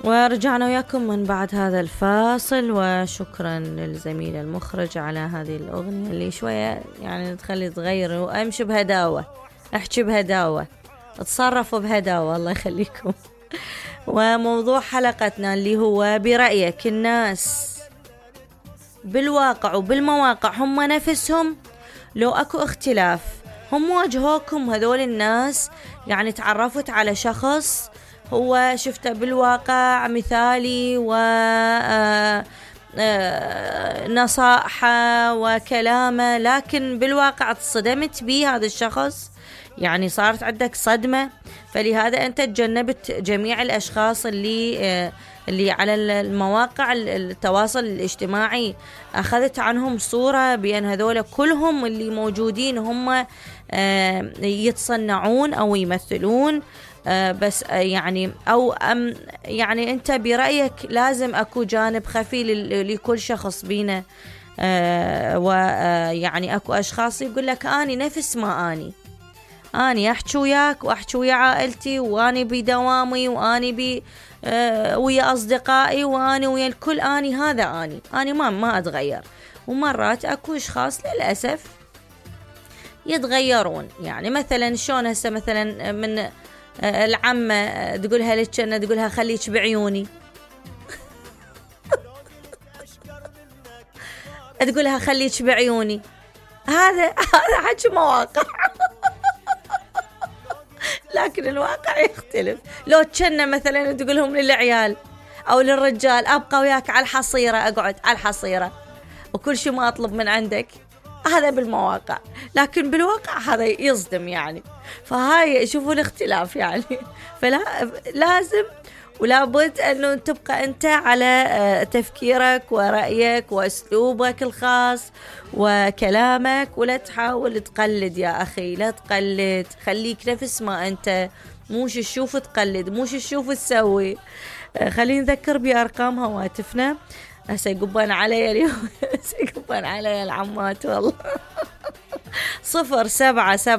ورجعنا وياكم من بعد هذا الفاصل، وشكرا للزميل المخرج على هذه الأغنية اللي شوية يعني تخلي تغير وأمشي بهداوة، أحكي بهداوة، اتصرفوا بهداوة، الله يخليكم. وموضوع حلقتنا اللي هو برأيك الناس بالواقع وبالمواقع هم نفسهم لو أكو اختلاف؟ هم واجهوكم هذول الناس؟ يعني تعرفت على شخص هو شفته بالواقع مثالي و نصائحه وكلامه، لكن بالواقع تصدمت به هذا الشخص، يعني صارت عندك صدمة. فلهذا أنت تجنبت جميع الأشخاص اللي على المواقع التواصل الاجتماعي، أخذت عنهم صورة بأن هذول كلهم اللي موجودين هم يتصنعون أو يمثلون، بس يعني يعني أنت برأيك لازم أكو جانب خفي لكل شخص بينا، ويعني أكو أشخاص يقول لك أني نفس ما أني أحكي وياك وأحكي ويا عائلتي، وأني بدوامي، وأني ويا أصدقائي، وأني ويا الكل، أني ما أتغير. ومرات أكو أشخاص للأسف يتغيرون، يعني مثلا شلون هسه مثلا من العمة تقولها لك، تقولها خليك بعيوني، تقولها خليك بعيوني، هذا حكي مواقع. لكن الواقع يختلف. لو كنا مثلا تقولهم للعيال أو للرجال أبقى وياك على الحصيرة، أقعد على الحصيرة وكل شيء ما أطلب من عندك، هذا بالمواقع. لكن بالواقع هذا يصدم يعني. فهاي شوفوا الاختلاف يعني. فلا لازم ولا بد أنه تبقى أنت على تفكيرك ورأيك وأسلوبك الخاص وكلامك، ولا تحاول تقلد يا أخي، لا تقلد، خليك نفس ما أنت، موش تشوف تقلد، موش تشوف تسوي. خلينا نذكر بأرقام هواتفنا. سيقبان علي اليوم، سيقبان علي العمات والله. 077